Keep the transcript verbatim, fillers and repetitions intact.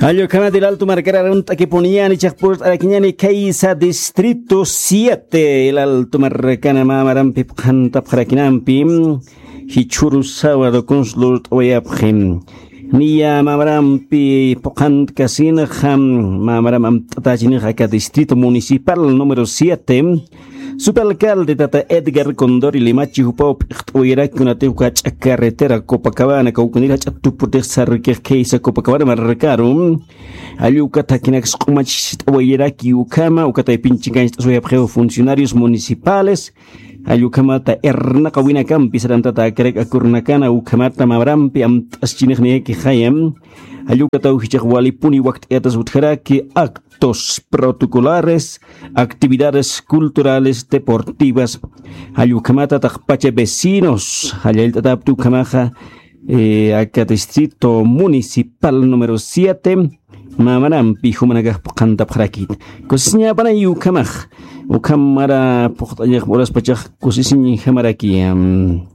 Allukhamat Ilaltu markar arunt'akipuniñäni, chiqpurt'arakiñäni khaysa distrito siete Ilaltu markana. Mä marampi phuqhantapxarakinampi jichhüru sábado kuns lurt'awayapxi. Niya mä marampi phuqhantkasinxa, mä maram amt'atächinix aka distrito municipal número siete, subalcalde tata Edgar Condori Limachi jupaw p'iqt'awayaraki kunatix uka jach'a carretera Copacabana kawknir jach'a tuputix sarkix khaysa Copacabana markaru. Jall ukat jakinaks q'umacht'awayaraki ukhama, ukat aypinchikancht'aswayapxiw funcionarios municipales. Jall ukhamata irnaqawinakampi sarantata akarak akurnakana ukhamata mä marampi amt'aschinixniyakixaya. Jall ukataw jichhax walipuni wakt'ayatas utjaraki actos protocolares, actividades culturales, deportivas. Jall ukhamata taqpacha vecinos jall jallt'atapti ukhamaxa, eh, aka distrito municipal número siete, mä marampi jumanakax phuqhantapxarakit. Kusisiñapanay ukhamax, ukham mara phuqt'añax uraspachax kusisiñjamarakiyam.